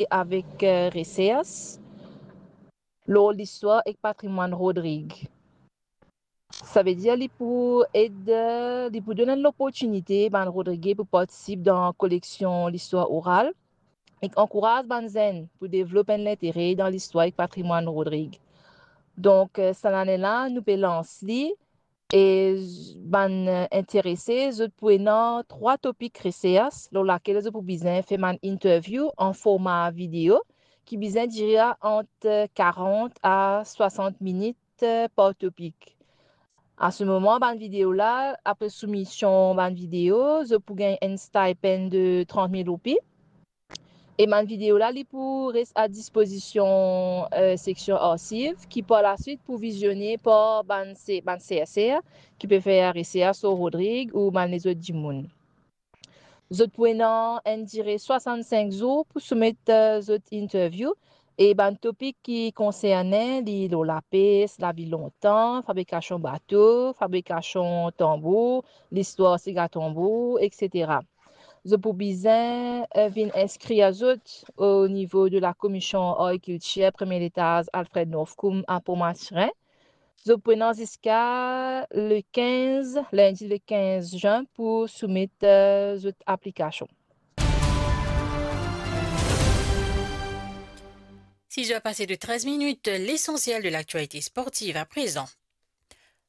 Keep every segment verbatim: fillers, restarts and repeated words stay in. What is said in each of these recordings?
e avek, eh, resers lor listwar ek patrimwann Rodrig. Savedir li pou ed, eh, li pou donn enn loportinite bann Rodrige pou partisip dan koleksion listwar oral ek ankouraz bann zenn pou devlop enn lintere dan listwar ek patrimwann Rodrig. Donk, eh, sa lane la, nou pe lans li e z-, bann, eh, interese, zot pou ena trwa topik resers lor lakel zot pou bizin fer bann interview an forma video ki bizin dire ant, eh, karant a swasant minit, eh, par topik. A se moman, bann video la, apre soumision bann video, zot pou gagn enn stipend de trant mil roupi. E bann video la, li pou res a dispozision, eh, seksion archive, ki par laswit pou vizione par bann se-, bann serser ki pe fer resers lor Rodrig ou bann lezot dimoun. Zot pou ena enn dire swasant-sink zour pou soumet, eh, zot interview, e bann topik ki konserne li lor lapes, lavi lontan, fabrikasion bato, fabrikasion tanbour, listwar siga tanbour, etsetera. Zot pou bizin, eh, vinn inskrir zot o nivo de la Komision Agrikiltir, premie letaz, Alfred Northcombe, a Port Mathurin. Zot pou ena ziska le kinz, lindi le kinz zin pou soumet, eh, zot aplikasion. Six heures passées de treize minutes, l'essentiel de l'actualité sportive à présent.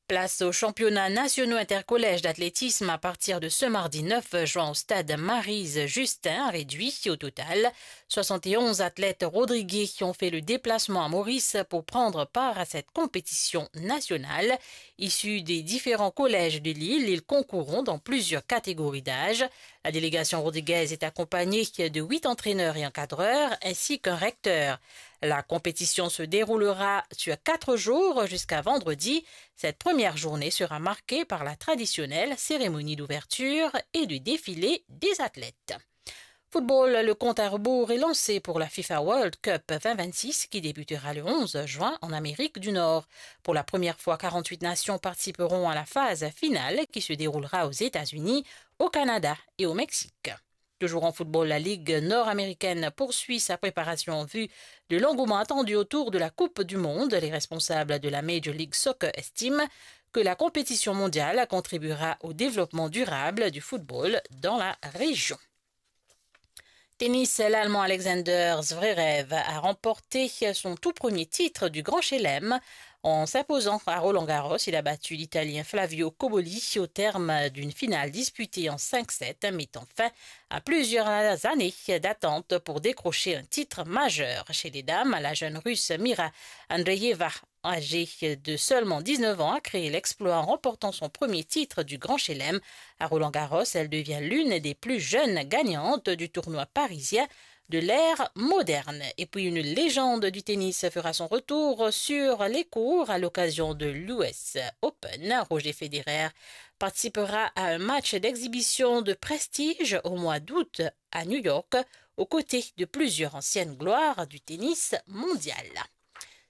Place aux championnats nationaux intercollèges d'athlétisme à partir de ce mardi neuf juin au stade Maryse Justin à Réduit. Au total, soixante et onze athlètes rodriguais qui ont fait le déplacement à Maurice pour prendre part à cette compétition nationale. Issus des différents collèges de l'île, ils concourront dans plusieurs catégories d'âge. La délégation rodriguaise est accompagnée de huit entraîneurs et encadreurs, ainsi qu'un recteur. La compétition se déroulera sur quatre jours jusqu'à vendredi. Cette première journée sera marquée par la traditionnelle cérémonie d'ouverture et du défilé des athlètes. Football, le compte à rebours est lancé pour la FIFA World Cup vingt vingt-six qui débutera le onze juin en Amérique du Nord. Pour la première fois, quarante-huit nations participeront à la phase finale qui se déroulera aux États-Unis, au Canada et au Mexique. Toujours en football, la Ligue nord-américaine poursuit sa préparation en vue de l'engouement attendu autour de la Coupe du Monde. Les responsables de la Major League Soccer estiment que la compétition mondiale contribuera au développement durable du football dans la région. Tennis, l'Allemand Alexander Zverev a remporté son tout premier titre du Grand Chelem en s'imposant à Roland Garros. Il a battu l'Italien Flavio Cobolli au terme d'une finale disputée en cinq sept, mettant fin à plusieurs années d'attente pour décrocher un titre majeur. Chez les dames, la jeune Russe Mira Andreeva, âgée de seulement dix-neuf ans, a créé l'exploit en remportant son premier titre du Grand Chelem. À Roland Garros, elle devient l'une des plus jeunes gagnantes du tournoi parisien de l'ère moderne. Et puis, une légende du tennis fera son retour sur les courts à l'occasion de l'U S Open. Roger Federer participera à un match d'exhibition de prestige au mois d'août à New York, aux côtés de plusieurs anciennes gloires du tennis mondial.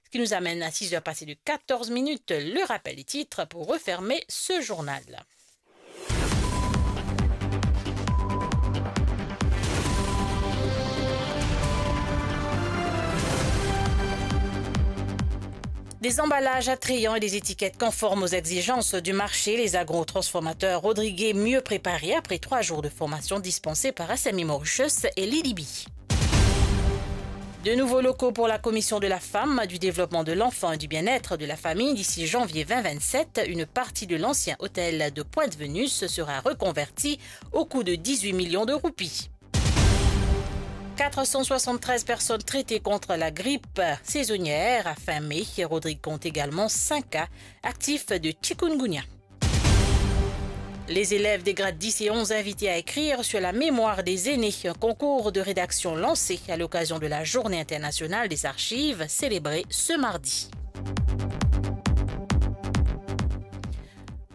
Ce qui nous amène à six heures passées de quatorze minutes, le rappel des titres pour refermer ce journal. Des emballages attrayants et des étiquettes conformes aux exigences du marché, les agro-transformateurs rodriguais mieux préparés après trois jours de formation dispensée par S M I Mauritius et l'I D B. De nouveaux locaux pour la Commission de la Femme, du Développement de l'Enfant et du Bien-être de la Famille d'ici janvier vingt vingt-sept. Une partie de l'ancien hôtel de Pointe-Venus sera reconvertie au coût de dix-huit millions de roupies. Quatre cent soixante-treize personnes traitées contre la grippe saisonnière à fin mai. Rodrigues compte également cinq cas actifs de chikungunya. Les élèves des grades dix et onze invités à écrire sur la mémoire des aînés, un concours de rédaction lancé à l'occasion de la Journée internationale des archives célébrée ce mardi.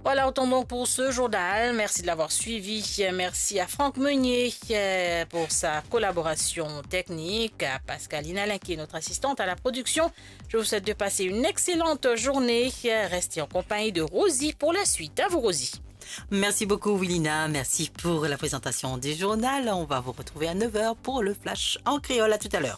Voilà, autant donc pour ce journal. Merci de l'avoir suivi. Merci à Franck Meunier, euh, pour sa collaboration technique, à Pascaline Alain qui est notre assistante à la production. Je vous souhaite de passer une excellente journée. Restez en compagnie de Rosie pour la suite. À vous, Rosie. Merci beaucoup, Wilina. Merci pour la présentation du journal. On va vous retrouver à neuf heures pour le flash en créole. À tout à l'heure.